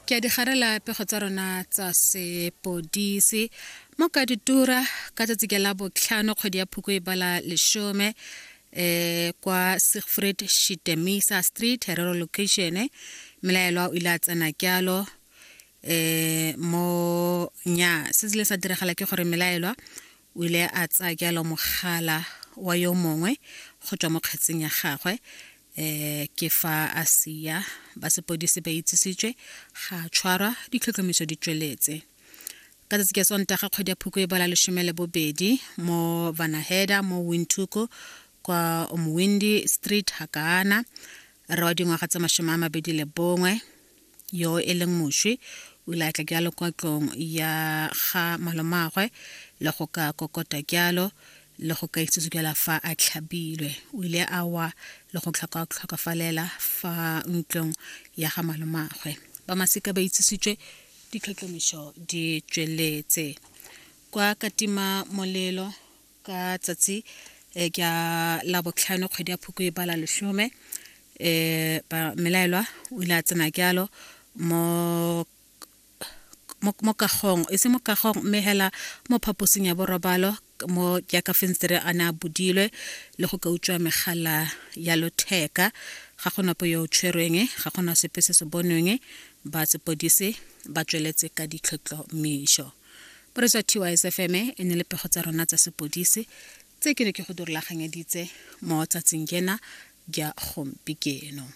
Ke a di garela pego tsa rona tsa sepodisi mo Katutura ka tsatsi ke la botlhano kgwedi ya Phukwi e bala lesome kwa Siegfried Shitemisa Street, Herero location. Melaelwa o ile a tsena kyalo mo nya se se sa diragala ke gore melaelwa o ile a tsaya kyalo mogala wa yo mongwe go tswa mo kgetseng ya gagwe. Ke fa a sia ba sepodisi ba itsisitswe, ga tshwarwa, ditlhotlhomiso di tsweletse. Ka tsatsi ke Sontaga kgwedi ya Phukwi e bala 12 mo Vanaheda mo Windhoek kwa Omwindi Street Hakana, rre wa dingwaga tsa 21 yo e leng moswi o ile a tla jalo kwa tlong ya ga malomagwe le go ka kokota jalo le go ka itsetsukela fa a tlhabilwe. O ile a wa le go tlhokafalela fa ntlong ya ga malomagwe. Ba masika ba itsisitswe, ditlhotlhomiso di tsweletse. Kwa Katima Molelo ka tsatsi ke la botlhano kgwedi ya Phukwi e bala lesome, ba melaelwa o ile a tsena jalo mo mo kagong, e se mo kagong mme hela mo phaposing ya borobalo mo jaaka fensetere a ne a bodilwe le go ka utswa megala ya lotheka. Ga gona po yo o tshwerweng, ga gona sepe se se bonweng. Ba sepodisi ba tsweletse ka ditlhotlhomišo. Boretsa TYSFM e ne le pego tsa rona tsa sepodisi tse ke ne ke go dirulaganyeditse mo tsatsing jena ja gompieno.